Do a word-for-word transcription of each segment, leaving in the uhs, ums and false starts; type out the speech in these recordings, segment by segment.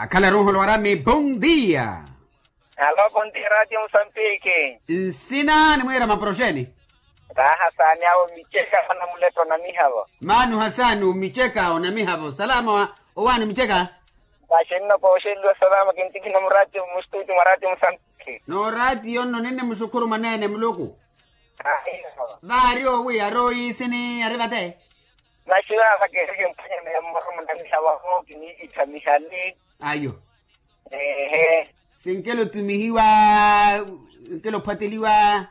Akhalaru nholwarami bondia. Alo bondia ratio musambiki. Nsina nimwiira maproxeni. Raha saani awo micheka anamuleto na mihavo. Maani ohasaani omicheka onamihavo salama. Owaani micheka. Vaxinno pooxeliwa salama kintikhina muratio mustuti mwa ratio musambiki. Noratio nno ninni muxukhuru mwaneene muluku. Vaari owi ari oyiisini ari vate. Maxi vaava keereke mphwanyana ya mmoro munamiha vaho kiniikittha mihali. Ayo. Eehe. Sinkelo tumihiwa. Sinkelo phwateliwa.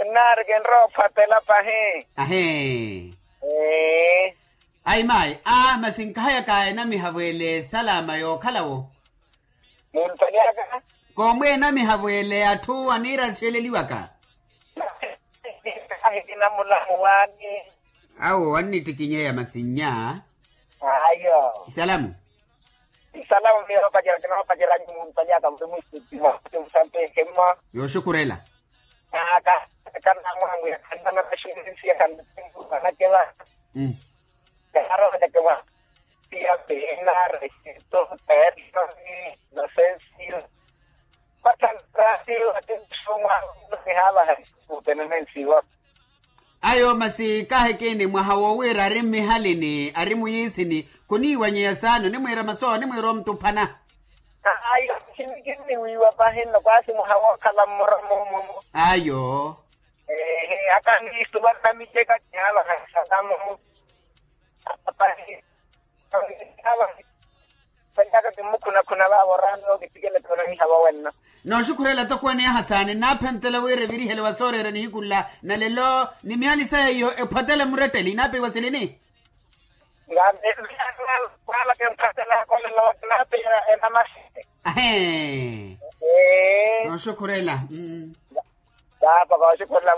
Nnaari kinrowa ophwatela pahi. Ahe. Ee. Ayi maayi a masi nkahayaka enamihavo ele salama yookhalawo. Muntonyaka. Koomwe enamihavo ele atthu aniira axeleliwaka. Ahi kinamulamu waani. Awo annittikinyeya masinnya. Ayo. Isalamu. Isalamu miyo paceraki no paceraki muntonyaka muli mwistutima kuti musampe hemma. Yooxukurela. Aka kanamwamwiya khanana vaxurinsiya khanatemburu vanakeva. Kaaro vanakeva. Piya pena resito perso inosensiyo. Patanrasiyo ati msumwa. Nihavaha. Kutenenensiwa. Ayo masi kaahikini mwaha wowiira ari mmihalini ari muyiisini. Khuniiwanyeya saana onimwiira masu awo onimwiira omutuphana. Ayo. Khiniwiiwa pahi nno kwaasi mwaha wookhala mmora moomo. Ayo. Ehe akaniistuwa namicheka kihavaha salamo. Pahi. Panyaka kimmukhunakhuna vaavo oraani ookittikela tonaniha vawenno. Nooxukhurela tokooni aha saani nnaaphenttela wira evirihele wa sooreera nihiku nla na lelo ni mihali saya iyo ephwattela muretteli inaapiwa silini. Ngambe. Kwala kemphattela kolelo naapiwa enamasi. Ahee. Nooxukhurela. Paapa kooxukhurela.